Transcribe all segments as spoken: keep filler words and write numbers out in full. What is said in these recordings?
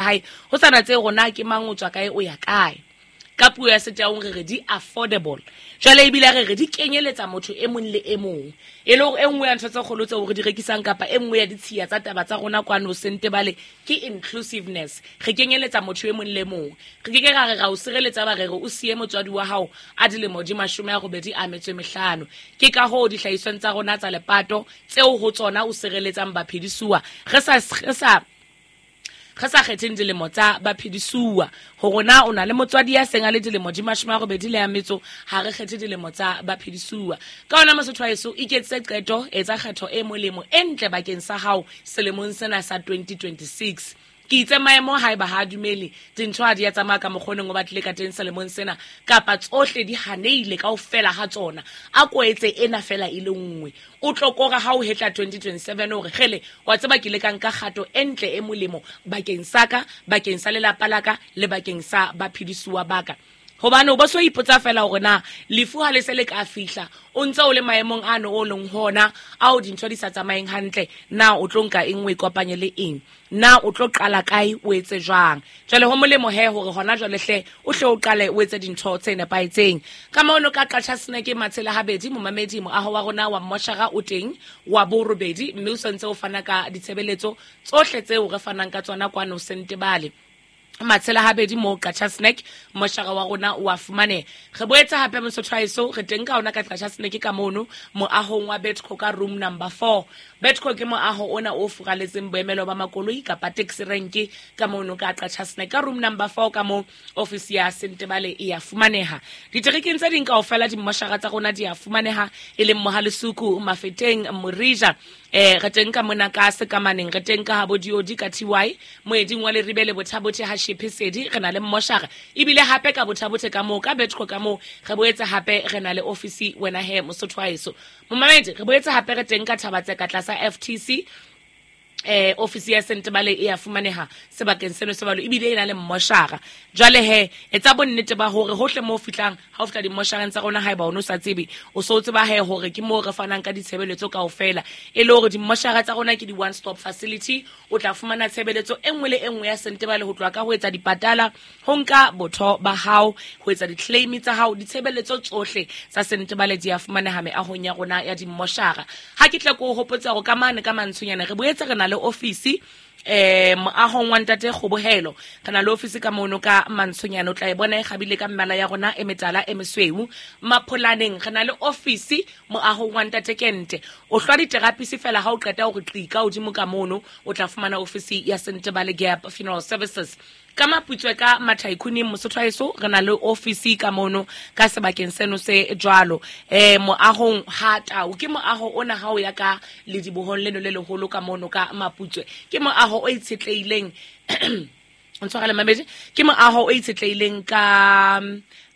Hae ho sana tse rona ke mang o tswa kae o ya kae. Ka puo ya setaung re re di affordable. Jwale ebile re re di kenyeletsa motho e mong le e mong. E le hore e nngwe ya ntho tse kgolo tseo re di rekisang kapa e nngwe ya ditshiya tsa taba tsa rona kwano Sentebale ke inclusiveness. Re kenyeletsa motho e mong le mong. Re ke ke ra re ra o sireletsa ba re re o siye motswadi wa hao a dilemo di mashome a robedi a metso e mehlano. Ke ka hoo dihlahisweng tsa rona tsa lepato tseo ho tsona o sireletsang baphedisuwa. Re sa re sa re sa kgetheng dilemo tsa baphedisuwa hore na o na le motswadi ya seng a le dilemo di mashome a robedi le ya metso, ha re kgethe dilemo tsa baphedisuwa. Ka hona mosotho wa heso, iketsetse qeto, etsa kgetho e molemo e ntle bakeng sa hao selemong sena sa twenty twenty-six. Ke itse maemo haeba ha a dumele, dintho ha di a tsamaya ka mokgoneng o batlile ka teng selemong sena, kapa tsohle di haneile kaofela ha tsona, a ko etse ena fela e le nngwe. O tlo kora ha o hetla twenty twenty-seven hore kgele, wa tseba ke ile ka nka kgato e ntle e molemo bakeng sa ka, bakeng sa lelapa la ka le bakeng sa baphedisuwa ba ka. Hobane o bo so ipotsa fela hore na lefu ha le se le ka fihla, o ntse o le maemong ano o leng hona ao dintho di sa tsamayeng hantle, na o tlo nka eng o ikopanye le eng, na o tlo qala kae o etse jwang. Jwale ho molemo he hore hona jwale hle o hle o qale o etse dintho tse nepahetseng. Ka mono ka Qacha Snack Matshela Habedi, momamedi, moaho wa rona wa mmoshara o teng wa borobedi, mme o santse o fana ka ditshebeletso tsohle tseo re fanang ka tsona kwano Sentebale. Matshela Habedi mo Qacha Snack, moshara wa rona o a fumaneha. Re boetse hape mosotho wa heso, re teng ka ona ka Qacha Snack ka mono moahong wa Betco ka room number four. Betco ke moaho ona o furaletseng boemelo ba makoloi kapa taxi rank ka mono ka Qacha Snack ka room number four ka mo office ya Sentebale e a fumaneha. Diterekeng tse ding kaofela dimmoshara tsa rona di a fumaneha, e leng Mohalesuku, Mafeteng, Morija. Eh, re teng ka mona ka Sekamaneng, re teng ka Habodiodi ka T Y, moeding wa Leribe le Bothabothe ha Shepesedi, re na le mmoshara. Ebile hape ka Bothabothe ka moo, ka Betco ka moo, re boetse hape re na le office wena he mosotho wa heso. Momamedi, re boetse hape re teng ka Thabatseka tlasa F T C. Eh, office ya Sentebale e a fumaneha sebakeng seno se balo, ebile e na le mmoshara. Jwale he, etsa bonnete ba hore hohle moo o fihlang, ha o fihla dimmoshareng tsa rona, haeba o no sa tsebe, o so tseba he hore ke moo re fanang ka ditshebeletso kaofela. E le hore dimmoshara tsa rona ke di one stop facility, o tla fumana tshebeletso e nngwe le e nngwe ya Sentebale, ho tloha ka ho etsa dipatala, ho nka botho ba hao, ho etsa di-claim tsa hao, ditshebeletso tsohle tsa Sentebale di a fumaneha meahong ya rona ya dimmoshara. Ha ke tla ko hopotsa hore ka mane ka mantshonyana re boetse re na le office eh moahong wa ntate Kgobohelo. Re na le office ka mono ka mantshonyana, o tla e bona e kgabile ka mmala ya rona e metala e mesweu. Mapholaneng re na le office moahong wa ntate Kente. O hlwa diterapisi fela ha o qeta hore qika hodimo ka mono, o tla fumana office ya Sentebale Gap Funeral Services. Ka Maputswe ka Mathaikhuning mosotho wa heso, re na le office ka mono ka sebakeng seno se jwalo. Eh, moahong ha Tau, ke moaho ona ha o ya ka ledibohong leno le leholo ka mono ka Maputswe. Ke moaho o itshetlehileng ntshwarele mamedi, ke moaho o itshetlehileng ka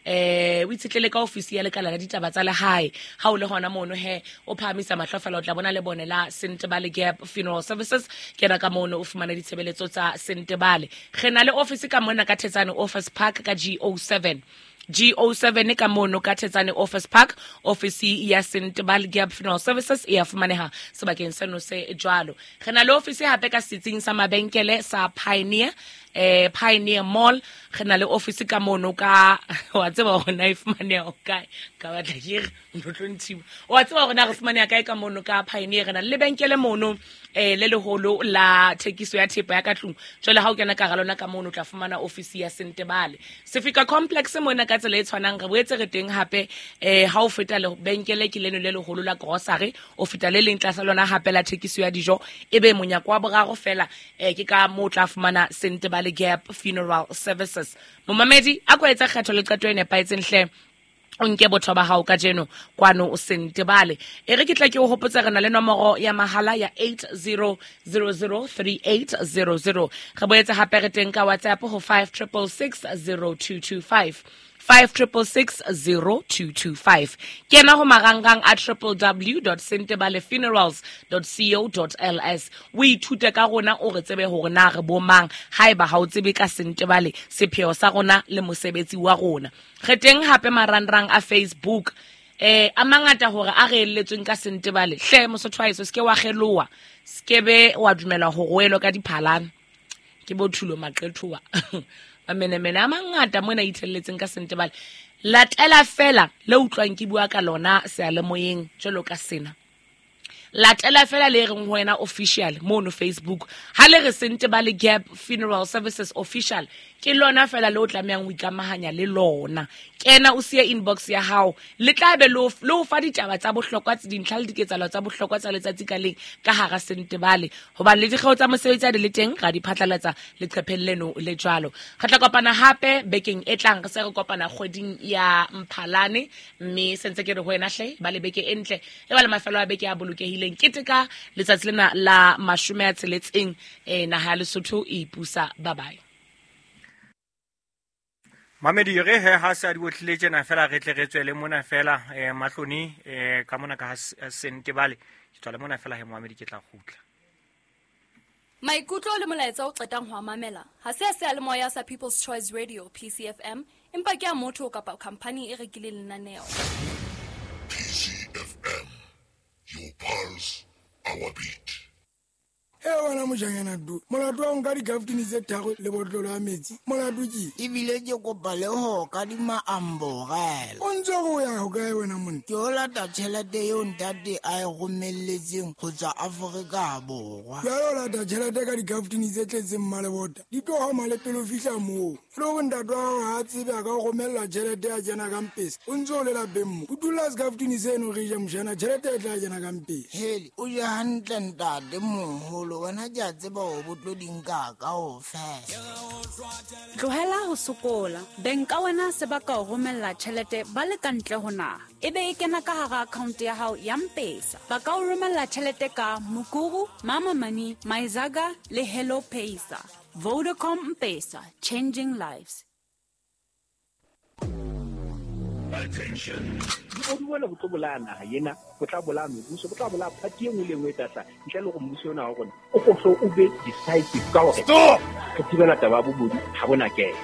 eh o itshetlele ka office ya lekala la ditaba tsa lehae. Ha o le hona mono he, o phahamisa mahlo fela o tla bona le bone la Sentebale Gap Funeral Services. Kena ka mono o fumana ditshebeletso tsa Sentebale. Re na le office ka mona ka Thetsane Office Park ka G O seven. G O seven ka mono ka Thetsane Office Park, office ya Sentebale Gap Funeral Services e a fumaneha sebakeng seno se jwalo. Re na le office hape ka setsing sa mabenkele sa Pioneer, eh Pioneer Mall. Re na le office ka mono ka, wa tseba hore na e fumaneha ho kae, ka batla ke re ntlo tlo ntshiwa. Wa tseba hore na re fumaneha kae ka mono ka Pioneer. Re na le lebenkele mono eh le leholo la thekiso ya thepa ya ka tlung. Jwale ha o kena ka hara lona ka mono o tla fumana office ya Sentebale. Sefika Complex mona ka tsela e tshwanang re boetse re teng hape eh ha o feta lebenkele ke leno le leholo la grocery, o feta le leng tlasa lona hape la thekiso ya dijo, ebe monyako wa boraro fela eh ke ka moo o tla fumana Sentebale Gap Funeral Services. Momamedi, a ko etsa kgetho le qeto e nepahetseng hle, o nke botho ba hao kajeno kwano o Sentebale. E re ke tla ke o hopotsa re na le nomoro ya mahala ya eight zero zero zero three eight zero zero. Re boetse hape re teng ka WhatsApp ho five triple six zero two two five. five triple six zero two two five. Kena ho marangrang a triple w dot sentebale funerals dot co dot l s. O ithute ka rona, o re tsebe hore na re bo mang, haeba ha o tsebe ka Sentebale, sepheo sa rona le mosebetsi wa rona. Re teng hape marangrang a Facebook. Eh, a mangata hore a re eletsweng ka Sentebale. Hle mosotho wa heso, se ke wa kgeloha, se ke be wa dumela ho roelwa ka diphalana. Ke bo Thulo Maqethoa. Mamenemene a mangata mona ithelletseng ka Sentebale. Latela fela le utlwang ke bua ka lona seyalemoyeng jwalo ka sena. Latela fela le reng ho wena official mono Facebook. Ha le re Sentebale Gap Funeral Services official, ke lona fela le o tlamehang ho ikamahanya le lona. Kena o siye inbox ya hao, le tla be le o fa ditaba tsa bohlokwa, tse dintlha le diketsahalo tsa bohlokwa tsa letsatsi ka leng ka hara Sentebale. Hobane le dikgeo tsa mosebetsi a di le teng, ra di phatlalatsa leqepheng leno le jwalo. Re tla kopana hape bekeng e tlang, re se re kopana kgweding ya Mphalane, mme sentse ke re ho wena hle ba le beke e ntle, e ba le mafelo a beke a bolokehileng. Keteka letsatsi lena la mashome a tsheletseng, eh naha ya Lesotho e ipusa. Bye bye. Mamedi re he ha se a di otlile tjena fela re tle re tswele mona fela eh mahloni eh ka mona ka Sentebale ke tswale mona fela he Mohamedi ke tla kgutla. Maikutlo le molaetsa o qetang ho mamela ha se a seyalemoya sa People's Choice Radio P C F M, empa ke a motho kapa company e rekileng lenaneo. P C F M, your pulse, our beat. E wena mojanyana du, molato wa nka dikaftini tse tharo le botlolo ya metsi, molato ke ebile ke kopa le ho kadima amborela. O ntse o ya ho kae wena monna? Ke o lata tjhelete eo ntate a e romelletseng ho tswa Afrika Borwa. Jwale o lata tjhelete ka dikaftini tse tletseng mmalebota, di tlo hama le pele o fihla moo. Le hore ntate wa hao ha a tsebe a ka o romella tjhelete ya kena ka mpesa, o ntse o le lapeng mo. O dula sekaftini seno re ja mojana, tjhelete e tla kena ka mpesa. Hele, o je hantle ntate moholo. Wena ke a tseba hore bo tlo di nka kaofela. Tlohela ho sokola. Beng ka wena se ba ka o romella tjhelete ba le ka ntle ho naha, ebe e kena ka hara account ya hao ya M-Pesa. Ba ka o romella tjhelete ka Mukuru, Mama Money, Maizaga le Hello Pesa. Vodacom M-Pesa, changing lives. Attention. O duela go tlo bolaya naha ena, go tla bolaya mebuso, go tla bolaya party e nngwe le nngwe e tla tla ntle le gore mmuso ona wa rona o go o be decisive ka hore Stop! re thibela taba ya bobodu ha bona kena.